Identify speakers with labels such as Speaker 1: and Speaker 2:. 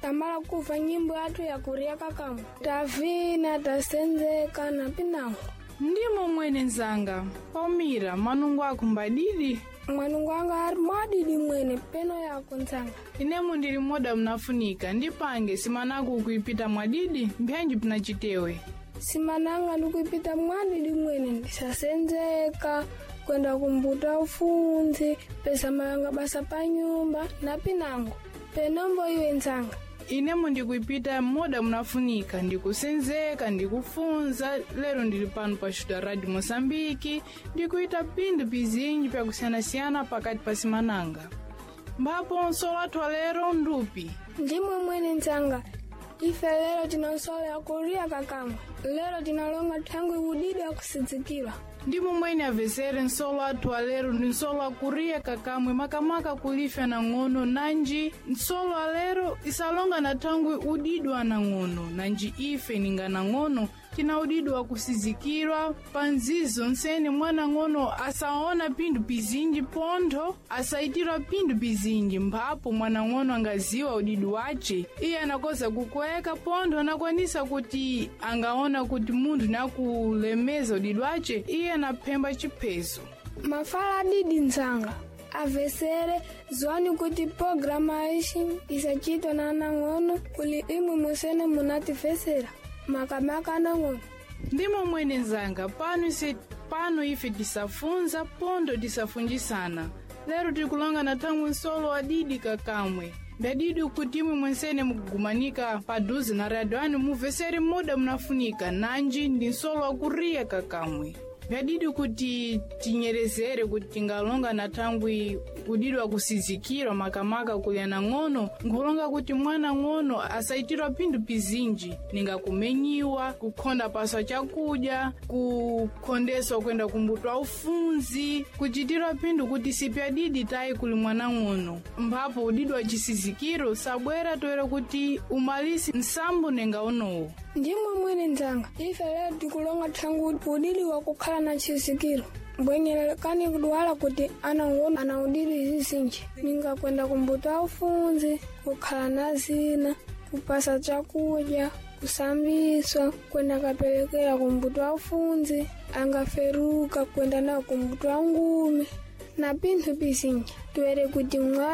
Speaker 1: Tamala kuva nyimbo yathu ya kuria kakamwe. Tavina tasenzeka na pinango.
Speaker 2: Ndimo mwene nzanga, Palmira, manungo ako mbadidi?
Speaker 1: Mwanungu anga ari mwadidi mwene peno yako nzanga.
Speaker 2: Inemo ndili moda mnafunika, ndipange simanaku kuipita mwadidi, mbyanji pinachitewe.
Speaker 1: Simananga ndikuipita mwadidi mwene ndisasenzeka kwenda kumbuta ufunzi pesa mayanga basa pa nyumba na pinango penombo iwe nzanga.
Speaker 2: Inemo ndikuipita moda munafunika, ndikusenzeka, ndikufunza. Lero ndili pano pa Xuta Radio Moçambique, ndikuita phindu pizinji pyakusiyanasiyana pakati pa simananga. Mbapo nsolo athu alero ndupi.
Speaker 1: Ndimwe mwene nzanga, ife lero tinasola kuria kakamwe. Lero tinalonga thangwi udidi akusidzikira.
Speaker 2: Ndimo mwene avesere nsolo athu alero ndi nsolo akuriya kakamwe makamaka kulifya nang'ono nanji nsolo alero isalonga na thangwi udidwa anang'ono nanji ife ninga nang'ono tina udidwa kusizikirwa pa nzizo nsene mwanang'ono asaona phindu pizinji pontho asaitirwa phindu pizinji mphapo mwanang'ono angaziwa udidi wace iye anakoza kukweka pontho anakwanisa kuti angaona kuti munthu nakulemeza udidi wace iye anaphemba chiphezo.
Speaker 1: Mafala adidi nzanga avesere zwani kuti programa ishi isachitwa na anang'ono kuli imwe musene munatifesera makamaka anang'ono.
Speaker 2: Ndimo mwene nzanga, pano ise pano ife tisafunza pondo tisafunjisana. Lero tikulonga na thangwi nsolo adidi kakamwe. Ndadidi kuti imwe mwensene mukugumanika paduze na radio anu muvesere muda munafunika nanji ndi nsolo akuriya kakamwe. Vyadidi kuti tinyerezere kuti tingalonga na thangwi udidi wakusizikirwa makamaka kuli anang'ono, nkhulonga kuti mwana ng'ono asaitirwa phindu pizinji ninga kumenyiwa, kukhonda paswa chakudya, kukhondeswa kwenda kumbuto ufunzi, kuchitirwa phindu kuti sipyadidi tayi kuli mwana ng'ono. Mphapo udidi wa chisizikiro sabwera toera kuti umalisi nsambo nenga unowo.
Speaker 1: Ndimwe mwene nzanga, ife lero tikulonga thangwi udidi wakukhala na chizikiro. Mbwenyelekani kudwala kuti anang'ono ana udidi zizinji ninga kwenda kumbuto aufunzi, kukhala na zina, kupasa chakudya, kusambiswa, kwenda kapelekera kumbuto aufunzi, angaferuka kwenda nawo kumbuto angumi na pinthu pizinji. Tuwere kuti mwa